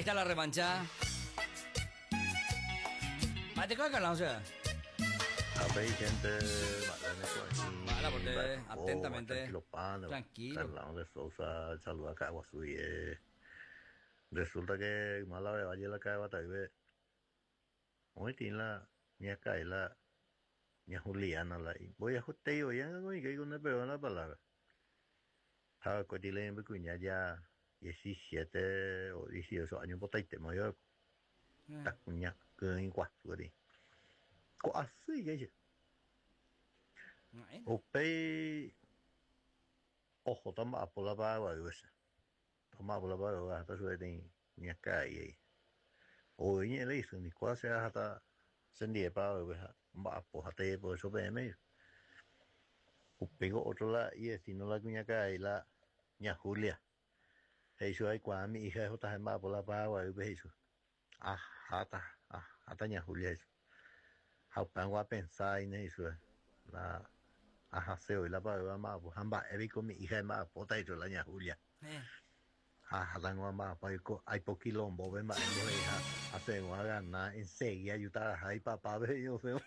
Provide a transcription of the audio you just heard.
Está la revancha. Mate con Carlos, o sea. Apéi gente, mba'éne ko aĩ, Mala, porque mba'e ko, atentamente. tranquilo pan, Tranquilo. Carlão de Sousa, saluda Ka'aguasu guie. Resulta que yma la Valle la Ka'aguatayve oĩtĩ la ñaka'e la ña Juliana la imboyahutei voi anga oĩke con perdón la palabra. Ha oikóti la imbykuña ya 17 o 18 años potaitéma oiko. Takuña kỹi guasu kuri. Ko'asy ikéicha. Upéi ohóta mba'apo la Paraguaýpe che. Omba'apo la Paraguaýpe aháta chupe peteĩ ñakã'i he'i. Ou iñe'ẽ la isy niko che aháta chendie Paraguaýpe ha omba'apo ha tejepohecho peẽme he'i. Upéiko ótro la ivesíno la kuñakarai la ña Julia. He'i chupe aikuaa mi hija ehotaha emba'apo la Paraguaýpe he'i chupe. Aháta, aháta ña Julia he'i chupe. Ha upévango apensa aína he'i chupe la ahase voi la Paraguaýpe amba'apo ha mba'e piko mi hija emba'apóta he'i chupe la ña Julia. Ha ahátango amba'apo aiko aipo quilombópe mba'e mbohe'iha asegua agana enseguida ajutaraha ipapápe he'i osẽvo.